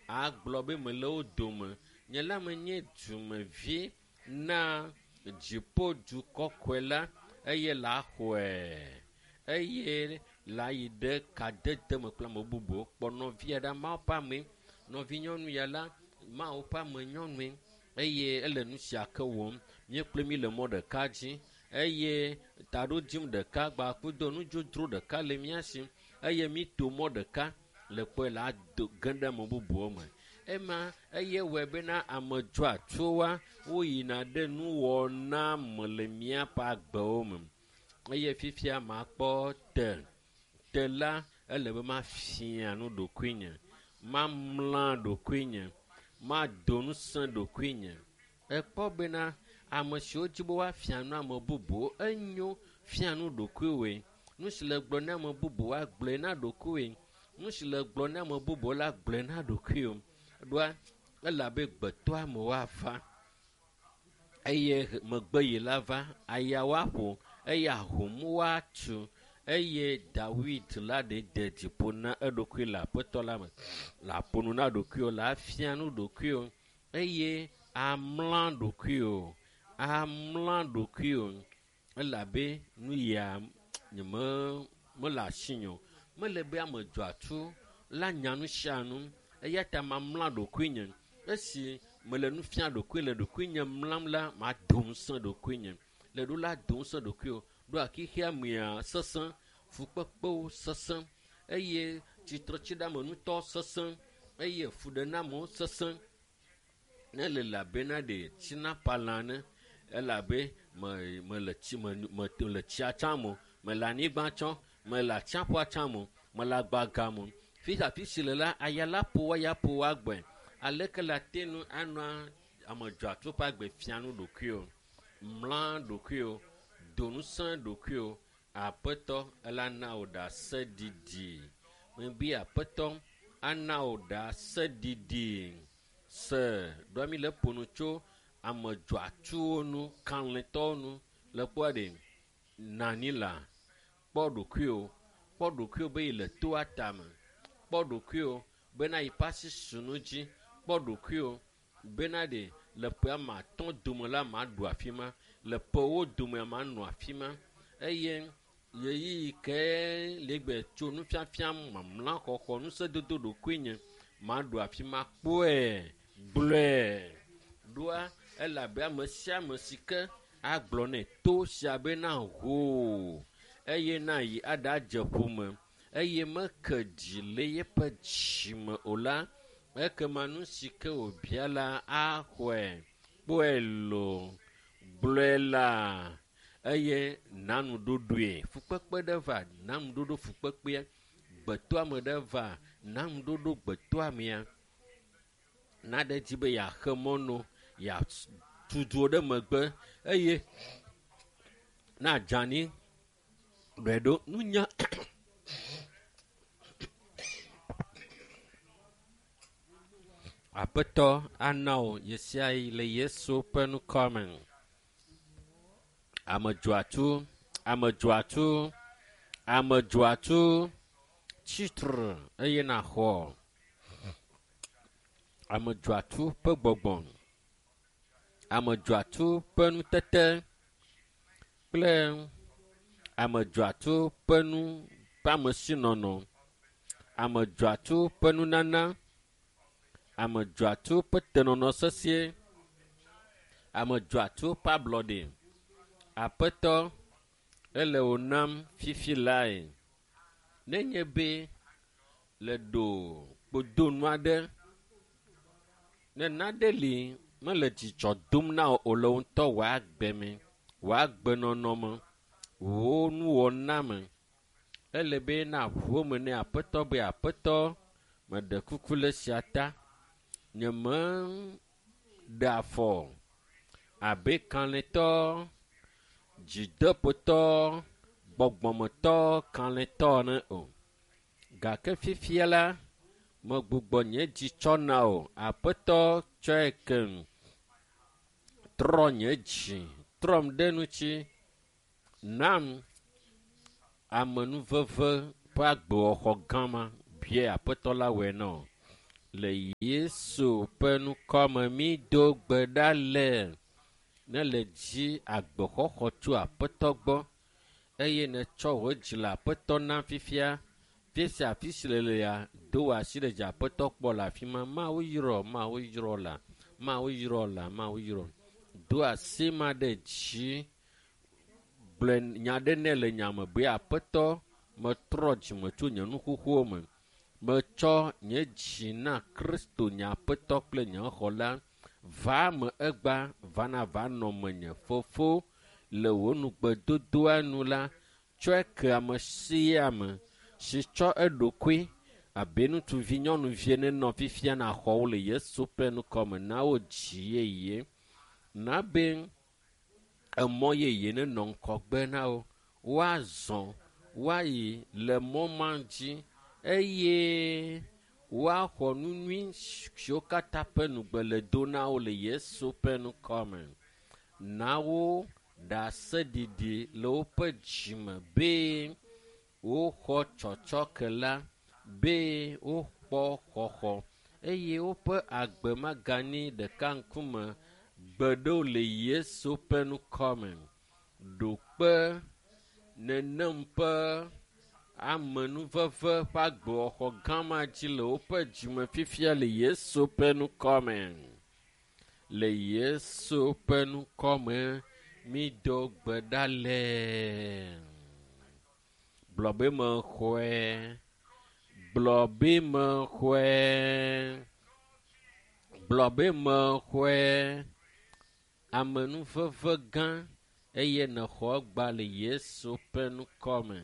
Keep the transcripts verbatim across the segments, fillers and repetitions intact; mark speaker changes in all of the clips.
Speaker 1: Agblɔ be mele wo dome. Nye la menye dumevi na dziƒodu kɔkɔe la eye la xɔe eye la yi ɖe kadede me kple ame bubuwo. Kpɔ nɔvia ɖa Mawu ƒe ame. Nɔvinyɔnu ya la Mawu ƒe ame nyɔnue eye ele nu sia ke wɔm. Míekple mi le mɔ ɖeka dzi eye taɖodzinu ɖeka gbakudo nudzodzro ɖeka le mía si eye mi to mɔ ɖeka le kpɔe la do ge ɖe ame bubuwo me. Ema eye wɔe bena ame dzɔatsowoa woyina ɖe nuwɔna me le míaƒe agbewo me. Eye fifia makpɔ te. Te la ele be mafia nu ɖokuinye, mamla ɖokuinye, mado ŋusẽ ɖokuinye. Ekpɔ bena ame siwo dzi be woafia nu ame bubuwo enyo fia nu ɖokuiwoe. Nu si le gblɔ na ame bubuwo agblɔe na ɖokuiwoe. Nu si le gblɔ na ame bubuwo la gblɔe na ɖokuiwo. Ɖoa ele abe gbetɔame woava eye megbe yi la va aya woaƒo eye ahom woatu eye Dawid la ɖe de dziƒo na eɖokui le aƒetɔ la me. Le aƒo nu na ɖokuiwo, le afia nu ɖokuiwo eye amla ɖokuiwo, amla ɖokuiwo elabe nu ya nye me mele asinye o. Mele be ame dzɔatsu la nya nu sia nu eya ta mamla ɖokuinye. Esi mele nu fia ɖokui le ɖokuinye mlam la, mado ŋusẽ ɖokuinye. Le ɖo la do ŋusẽ ɖokuiwo. Ɖoa xexea mea sesẽ, fukpekpewo sesẽ eye tsitretsiɖeamenutɔ sesẽ eye fuɖenamewo sesẽ. Ne le le abe na ɖe tsinapalã ene elabe me mele tsi me me le tsia tsam o, mele anyigba tsɔm, mele atsiaƒua tsam o, mele agbaga me o. Fi afi si le la, aya la ƒo wo aya ƒo wo agbɔe. Aleke le ate ŋu anɔ ame dzɔatsu ƒe agbe fia nu ɖokuiwo, mla ɖokuiwo, do ŋusẽ ɖokuiwo. Aƒetɔ ela na wò ɖaseɖiɖi. Mebi aƒetɔ ana wò ɖaseɖiɖi. Se ɖoa mi le ƒo nu tso ame dzɔatsuwo nu, kalẽtɔwo nu le kpɔa ɖe nani la kpɔ ɖokuiwo, kpɔ ɖokuiwo be yi le toa tame, kpɔ ɖokuiwo bena yi ƒe asi su nu dzi, kpɔ ɖokuiwo bena ɖe le ƒe ame atɔ̃ dome la maɖu afi ma, le ƒewo dome manɔ afi ma eye ɣeyiɣi ke le gbe tso nufiafia mamla xɔxɔ ŋusẽdodo ɖokuinye maɖu afi ma kpɔe gblɔe. Ɖoa elabe ame sia ame si ke agblɔ nɛ to sia bena hoo eye na yi aɖadze ƒome eye meke dzi le yeƒe dzime o la, ekema nu si ke wòbia la axɔe. Kpɔe loo, gblɔe la eye na nuɖoɖoe. Fukpekpe ɖe va, na nuɖoɖo fukpekpea. Gbetɔame ɖe va, na nuɖoɖo gbetɔamea. Naɖe dzi be yeaxe mɔ no, yeatu du ɖe megbe eye na dzani ɖɔe ɖo nunya. Aƒetɔ ana wò ɣesiaɣi le Yesu ƒe ŋkɔ me. Ame dzɔatsu, ame dzɔatsu, ame dzɔatsu, tsitre eye naxɔ ame dzɔatsu ƒe gbɔgbɔ, ame dzɔatsu ƒe nutete kple ame dzɔatsu ƒe nu ƒe amesinɔnɔ, ame dzɔatsu ƒe nunana, ame dzɔatsu ƒe tenɔnɔ sesĩe, ame dzɔatsu ƒe ablɔɖe. Aƒetɔ, ele wò nam fifi lae. Nenye be le ɖo kpodonu aɖe, ne nane li mele dzidzɔ dom na wò o le wò ŋutɔ wò agbe me, wò agbenɔnɔ me, wò nuwɔna me, ele be naʋu eme ne aƒetɔ be aƒetɔ meɖe kuku le esia ta. Nye meɖe afɔ abe kalẽtɔ, dzideƒotɔ, gbɔgbɔmetɔ, kalẽtɔ ene o. Gake fifia la, megbugbɔ nye dzi tsɔ na wò. Aƒetɔ tsɔe kem. Trɔ nye dzi, trɔm ɖe ŋuti. Nam amenuveve ƒe agbewɔxɔ gã ma. Bia aƒetɔ la wɔe na wò. Le Yesu ƒe ŋkɔme mído gbe ɖa le ne le dzi agbexɔxɔ tso Aƒetɔ gbɔ eye netsɔ wò dzi le Aƒetɔ nam fifia. Fi sia afi si le lea, do wò asi ɖe dzi Aƒetɔ kpɔ le afi ma. Mawu yrɔ, Mawu yrɔ la, Mawu yrɔ la, Mawu yrɔ. Do asi ma ɖe dzi gblɔ nya ɖe nɛ le nya me be Aƒetɔ metrɔ dzime tso nye nu xoxowo me. Metsɔ nye dzi na Kristo nye Aƒetɔ kple nye xɔla. Va me egba, va na va nɔ menye. Fofo, le wò nugbedodoa nu la, tsɔe ke ame sia ame si tsɔ eɖokui abe ŋutsuvi nyɔnuvi ene nɔ fifia na xɔ wo le Yesu ƒe ŋkɔme na wo dzi yeye. Na be emɔ yeye nenɔ ŋgɔgbe na wo. Woazɔ, woayi le mɔ ma dzi eye woaxɔ nu nyui siwo katã ƒe nugbe le do na wo le Yesu ƒe ŋkɔme. Na wo ɖaseɖiɖi le woƒe dzime be woxɔ tsɔtsɔke la, be wokpɔ xɔxɔ eye woƒe agbe magani ɖeka ŋkume gbe ɖewo le Yesu ƒe ŋkɔme. Ɖo kpe nenem ƒe amenuveve ƒe agbexɔxɔ gã ma dzi le woƒe dzime fifia le Yesu ƒe ŋkɔme. Le Yesu ƒe ŋkɔme mído gbe ɖa le. Gblɔ be mexɔe. Gblɔ be mexɔe. Gblɔ be mexɔe. Amenuveve gã eye nexɔ egba le Yesu ƒe ŋkɔme.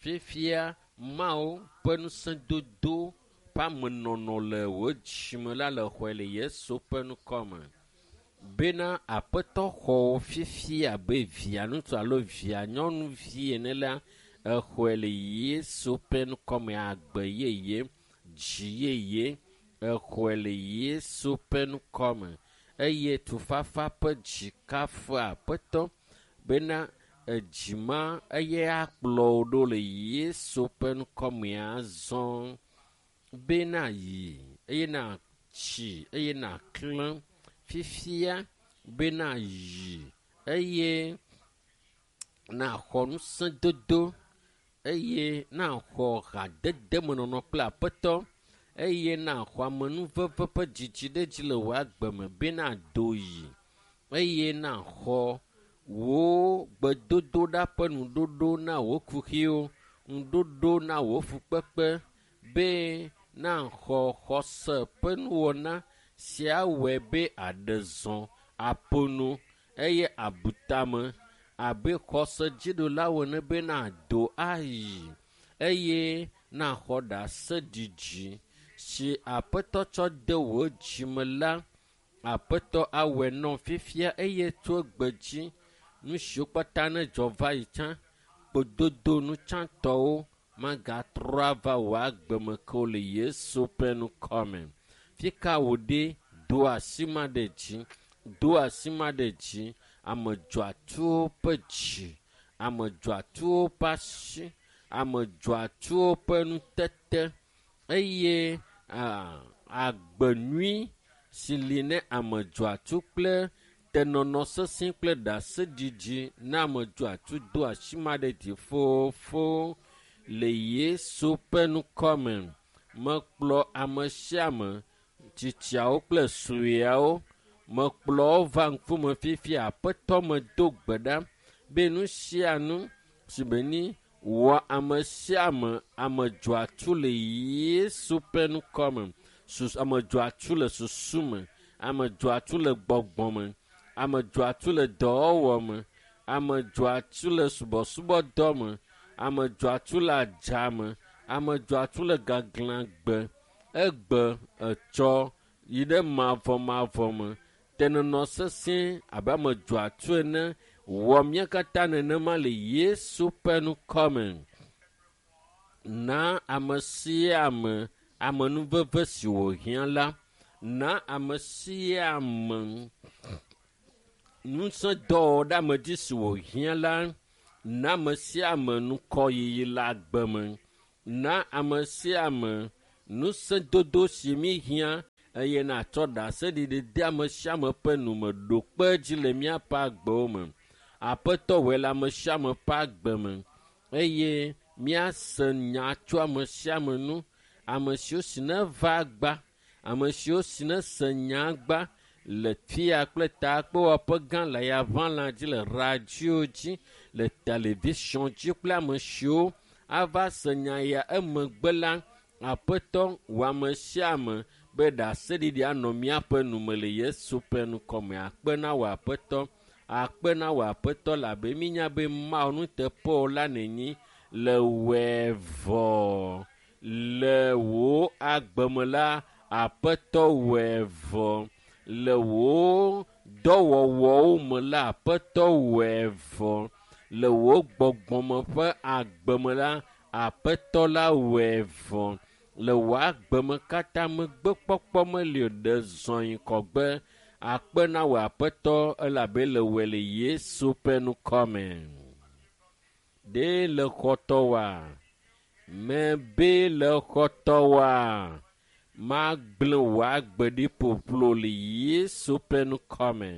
Speaker 1: Fifia Mawu ƒe ŋusẽdodo ƒe amenɔnɔ le wò dzime la le xɔe le Yesu ƒe ŋkɔme. Bena Aƒetɔ xɔ wò fifia abe via ŋutsu alo via nyɔnuvi ene la, exɔe le Yesu ƒe ŋkɔme agbe yeye, dzi yeye, exɔe le Yesu ƒe ŋkɔme eye tufafa ƒe dzi kafu Aƒetɔ bena edzi ma eye akplɔ wò ɖo le Yesu ƒe ŋkɔme azɔ. Bena yi eye natsi eye naklẽ fifia bena yi eye naxɔ ŋusẽdodo eye naxɔ hadedemenɔnɔ kple Aƒetɔ eye naxɔ amenuveve ƒe dzidziɖedzi le wò agbe me bena do yi eye naxɔ wò gbedodoɖa ƒe nuɖoɖo na wò kuxiwo, nuɖoɖo na wò fukpekpe be naxɔ xɔse ƒe nuwɔna sia wɔe be aɖe zɔ aƒo nu eye abu tame abe xɔse dziɖulawo ene be nado ayi eye naxɔ ɖaseɖiɖi si Aƒetɔ tsɔ de wò dzime la. Aƒetɔ awɔe nɔ fifia eye tso egbe dzi nu siwo katã ne dzɔ va yi tsã kpododo nu tsãtɔwo magatrɔ ava wò agbe me ke o le Yesu ƒe ŋkɔme. Fika wò ɖe do asi ma ɖe dzi, do asi ma ɖe dzi, ame dzɔatsuwo ƒe dzi, ame dzɔatsuwo ƒe asi, ame dzɔatsuwo ƒe nutete eye a, agbe nyui si li ne ame dzɔatsu kple tenɔnɔ sesẽ kple ɖaseɖiɖi na ame dzɔatsu do asi ma ɖe dzi fofo le Yesu ƒe ŋkɔme. Mekplɔ ame sia ame, tsitsiawo kple sueawo, mekplɔ wo va ŋkume fifia. Aƒetɔ medo gbe ɖa be nu sia nu si be ni wɔ ame sia ame ame dzɔatsu le Yesu ƒe ŋkɔme. Sus, ame dzɔatsu le susu me, ame dzɔatsu le gbɔgbɔ me, ame dzɔatsu le dɔwɔwɔ me, ame dzɔatsu le subɔsubɔdɔ me, ame dzɔatsu le adza me, ame dzɔatsu le gaglãgbe, egbe etsɔ yi ɖe mavɔmavɔ me. Tenɔnɔ sesẽ abe ame dzɔatsu ene wɔ mía katã nenema le Yesu ƒe ŋkɔme. Na ame sia ame amenuveve si wòhiã la, na ame sia ame ŋusẽdɔwɔwɔ ɖe ame dzi si wòhiã la, na ame sia ame ŋkɔyiyi le agbe me, na ame sia ame Ŋusẽdodo si mi hiã eye natsɔ ɖaseɖiɖi de ame sia ame ƒe nume ɖo kpe dzi le míaƒe agbewo me. Aƒetɔ wɔe le ame sia ame ƒe agbe me eye míase nya tso ame sia ame nu. Ame siwo si neva agba, ame siwo si nese nya agba le fia kple takpewɔƒe gã le yaʋalã dzi le radio dzi le television dzi kple ame siwo ava se nya ya emegbe la aƒetɔ wɔ ame sia ame be ɖaseɖiɖi anɔ míaƒe nume le Yesu ƒe ŋkɔme. Akpe na wò aƒetɔ, akpe na wò aƒetɔ labe mínya be Mawu nuteƒewɔla la nènyi le wɔe vɔ. Le wò agbe me la, aƒetɔ wɔe vɔ. Le wò dɔwɔwɔwo me la, aƒetɔ wɔe vɔ. Le wò gbɔgbɔme ƒe agbe me la, aƒetɔ la wɔe vɔ. Le wò agbe me katã megbekpɔkpɔ meli o, ɖe zɔ yi kɔgbe. Akpe na wò aƒetɔ elabe le wɔe le Yesu ƒe ŋkɔme. Ɖe le xɔtɔ wa? Mebe le xɔtɔ wa? Magblẽ wò agbe ɖi ƒoƒlo le Yesu ƒe ŋkɔme.